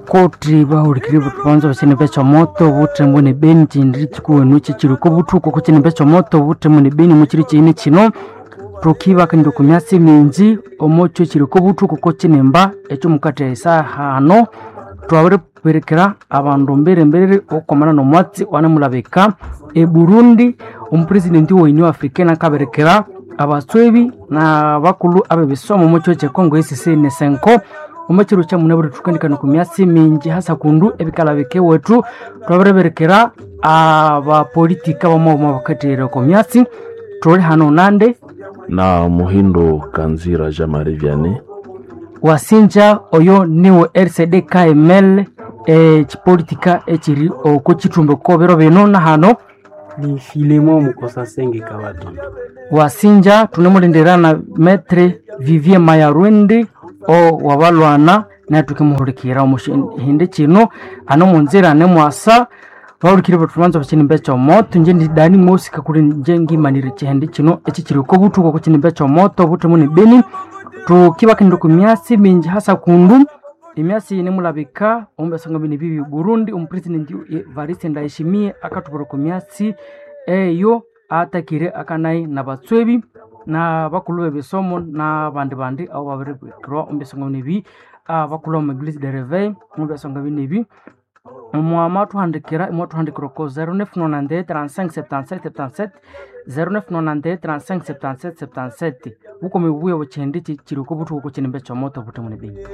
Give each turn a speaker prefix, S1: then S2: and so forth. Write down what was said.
S1: Koti bahulikirye banza bakyinimba ekyomoto obuthembo ne beni kyindi kikuwenu kyikyiri oko buthuku oko kyinimba ekyomoto obuthembo ne beni mukyiro kyiyine kino. Thukibakania oko myatsi mingi omwakyo kyiri oko buthuku oko kyinimba ekyomukatha esahano. Twabiribirikira abandu mbirimbiri okwamana nomwatsi owanamulabika e Burundi. Omupresidenti owe Union Africaine akabirikira abatswebi nabakulhu abebisomo omwa kyiro kye Congo ECC ne Senco. Omwa kyiro kyamunabwire thukandikana oko myatsi mingi hasa kundu ebikalabika ewethu. Twabiribirikira abapolitika bamabuma bakathahira oko myatsi. Thuli hano nandi
S2: na Muhindo Kanzira Jean Marie Vianney.
S1: Wasinja oyo niwe RCD KML ekipolitika ekiri oko kithumbi oko biro bino nahano.
S3: Ni Filemo Mukosa Senge Kabatonda.
S1: Wasinja thunemulindira na Maitre Vivien Mayarwindi o wabalwana naye thukimuhulikirira omu kyihindi kino hano omunzira nemwasa. Bahulikirye bethu banza bakyinimba ekyomoto. Ingye ndi Dani Mosi kakuli ingye ngimanire ekyihindi kino ekikyiri oko buthuku oko kyinimba ekyomoto obuthemu ne beni. Thukibakanira oko myatsi mingi hasa kundu emyatsi yinemulabika omu byasonga bino ebibi Burundi. Omupresidenti Evariste Ndayishimiye akathubwira oko myatsi eyo atakire akanayi nabatswebi nabakulhu bebisomo nabandi bandi abo babiribirikirwa omu byasonga bino ebi, abakulhu bama eglise de reveil omu byasonga bino ebi. Mwamathuhandikira imwathuhandikira oko 0991 35 77 77, 0991 35 77 77. Bukome bubuya bwekyihindi kyiri oko buthuku oko kyinimba ekyomoto obuthemu ne beni.